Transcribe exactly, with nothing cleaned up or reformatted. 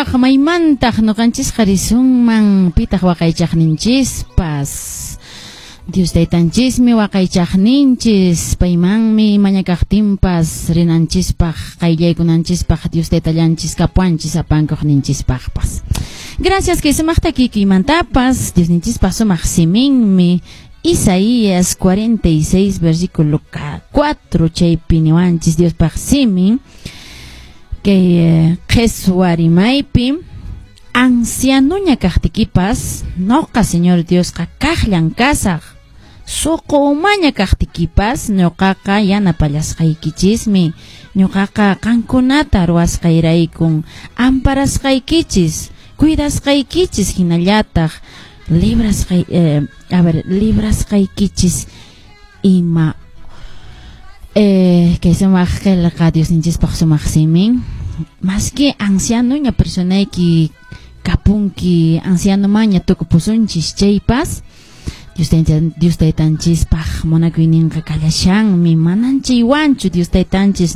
Pitaq, maymantaq ñuqanchisqa risunman? Pitaq waqaychaqninchispas? Dios Taytanchismi waqaychaqninchis, paymanmi mañakaqtinpas rinanchispaq, qayllaykunanchispaq Dios Taytallanchis kapuanchis apankuqninchispaqpas. Gracias kay sumaq takikuymantapas, Diosninchispaq sumaq siminmi Isaías cuarenta y seis versículo cuatro, chaypi niwanchis Diospaq simin kay eh, qheswa rimaypi: "Ancianuña kaqtikipas, noqa Señor Diosqa kaqllan kasaq. Suqu umaña kaqtikipas, ñuqaqa yanapallasqaykichismi. Ñuqaqa qankunata ruwasqayraykun amparasqaykichis, cuidasqaykichis, hinallataq librasqay eh, a ver, librasqaykichis ima." eh, kay sumaq qillqa, Diosninchispaq sumaq simin. Maski ancianoña personayki kapunki, anciano maña tukupusunchis chaypas, Dios taytan, Dios Taytanchispaq munakuyninqa kallashanmi, manan chaywanchu Dios Taytanchis.